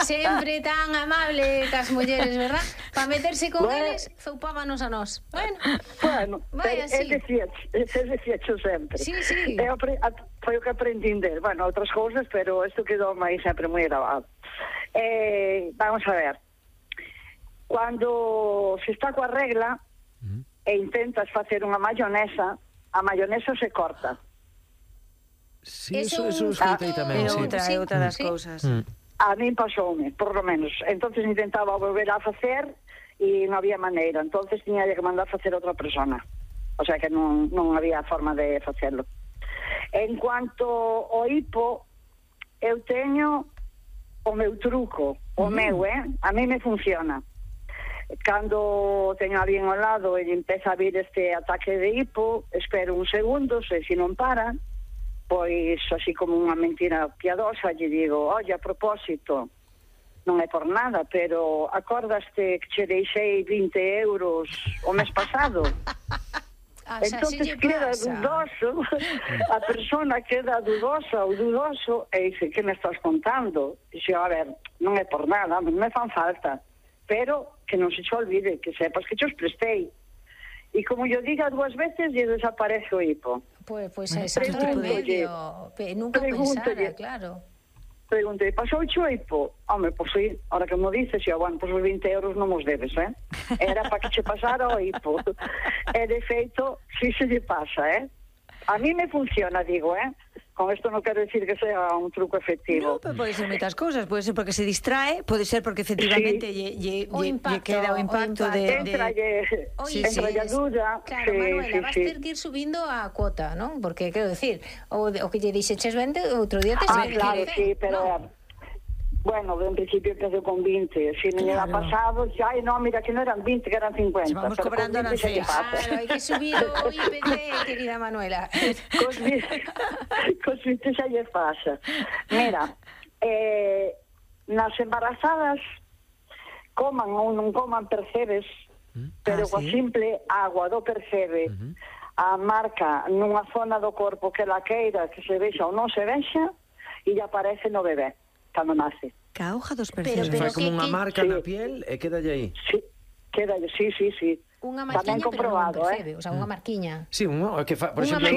sempre tan amable cas mulleres, verdad? Para meterse con eles, zoupábanos a nós. Bueno, vai así. Decía sempre. Sí. Foi o que aprendín del. Bueno, outras cousas, pero isto quedou aí sempre moi grabado. Vamos a ver. Cando se está coa regla e intentas facer unha mayonesa, a mayonesa se corta. Sí, eso escoitei tamén, sí. É outra das cousas. A min pasoume, por lo menos. Entonces intentaba volver a facer e non había maneira. Entonces tiña que mandar facer outra persona. O sea que non había forma de facerlo. En cuanto ao hipo, eu teño o meu truco, o meu, a mí me funciona. Cando teño a alguén ao lado e empeza a vir este ataque de hipo, espero un segundo, se non para, pois, así como unha mentira piadosa, lle digo, oye, a propósito, non é por nada, pero acordaste que che deixei 20 euros o mes pasado? Entonces queda dudoso, a persona queda dudosa ou dudoso, e dice, que me estás contando? E dice, a ver, non é por nada, non me fan falta, pero que non se che olvide, que sepas que che os prestei. E como yo diga 2 veces, lle desaparece o hipo. Pois é exacto remedio. Nunca pensara, claro. Preguntei, pasou o hipo? Home, pois sí, ahora que mo dices, bueno, pois os 20 euros non os debes, Era para que che pasara o hipo. E de feito, si se lle pasa, A mí me funciona, digo, Con isto non quero decir que sea un truco efectivo. No, pero pode ser moitas cousas. Pode ser porque se distrae, pode ser porque efectivamente lle queda o impacto de... Entra a duda. Claro, Manuela, vas ter que ir subindo a cuota, non? Porque, quero decir, o que lle dixeches 20, outro día te claro, sí, pero... Bueno, en principio empecé con 20. Si me ha pasado, no, mira, que no eran 20, que eran 50. Se vamos cobrando a Claro, hai que subir o IPC, querida Manuela. Cos 20 xa lle pasa. Mira, nas embarazadas, coman ou non coman percebes, pero coa simple agua do percebe, a marca nunha zona do corpo que la queira, que se vexa ou non se vexa, e lle aparece no bebé cando nace. Ca hoja dos percebes. Fai como unha marca na piel e quedalle aí. Sí, quedalle, sí. Unha marquiña, pero non percebe, o sea, unha marquiña. Sí, por exemplo,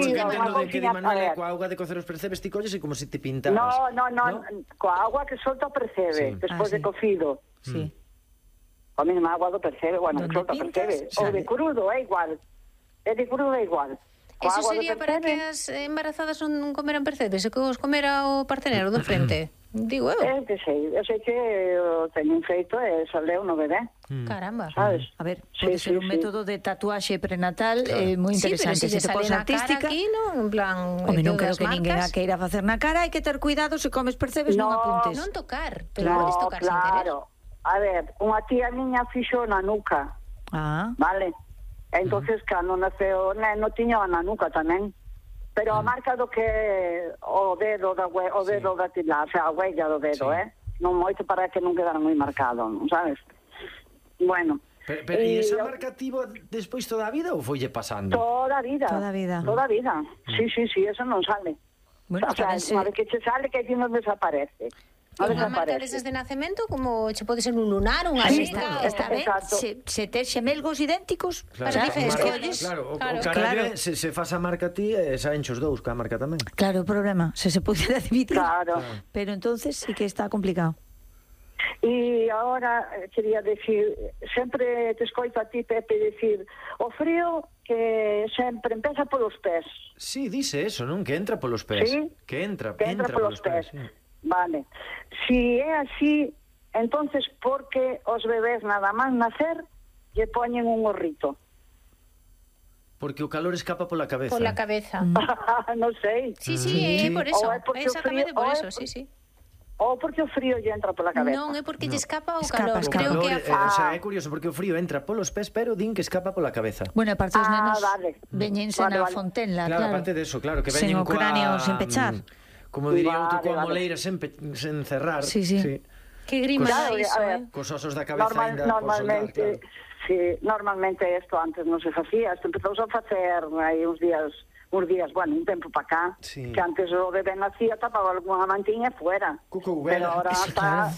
que di Manuela, coa auga de cocer os percebes ti colles e como se te pintaras. No, coa auga que solta o percebe, despois de cocido. Sí. A mesma agua do percebe, bueno, que solta o percebe. O de crudo é igual. Eso sería para que as embarazadas non comeran percebes, e que os comera o partenero do frente? Digo eu. Eu sei que o teñen feito e saleu no bebé. Caramba. Sabes? A ver, pode ser un método de tatuaxe prenatal moi interesante. Se te pos artística, aquí, non? En plan, home, non quero que ninguén a queira facer na cara, hai que ter cuidado se comes percebes, non apuntes. Non tocar, pero podes tocar sin querer. A ver, unha tía miña fixo na nuca. Vale? Entonces, cando naceu o neno, tiña na nuca tamén. Pero a marca do que o dedo da tila, o sea, a huella do dedo, non moito para que non quedara moi marcado, sabes? Bueno. Pero e esa marca tivo despois toda a vida ou foille pasando? Toda a vida. Sí, eso non sale. Bueno, o sea, unha vez que che sale, que non desaparece. Unha marca desde de nacemento, como che pode ser un lunar, unha rica, está ben, se tes xemelgos idénticos, para diferentes colles. Claro, se faz a marca ti, saen os dous ca marca tamén. Claro, o problema, se pudera dividir. Claro. Pero entonces sí que está complicado. E agora quería decir, sempre te escoito a ti, Pepe, decir, o frío que sempre empeza polos pés. Sí, dice eso, non? Que entra polos pés. Sí? Que entra polos pés. Sí. Vale. Si é así, entonces por que os bebés nada máis nacer lle poñen un gorrito? Porque o calor escapa pola cabeza. Pola cabeza. Non sei. Sí, por eso. Exactamente por eso, sí. Ou porque o frío lle entra pola cabeza? Non, é porque lle escapa o calor. Creo que o sea, é curioso, porque o frío entra polos pés, pero din que escapa pola cabeza. Bueno, aparte os nenos veñense na fontenla, claro. Aparte de eso, claro, que veñen sen o cráneo sen pechar. Como diría outro, coa moleira sen cerrar. Sí. Que grima iso, cos osos da cabeza ainda por soldar, claro. Sí, normalmente isto antes non se facía, isto empezouse a facer hai uns días, bueno, un tempo para cá, que antes o bebé nacía, tapaba algunha mantiña fuera. Cuco, pero ahora está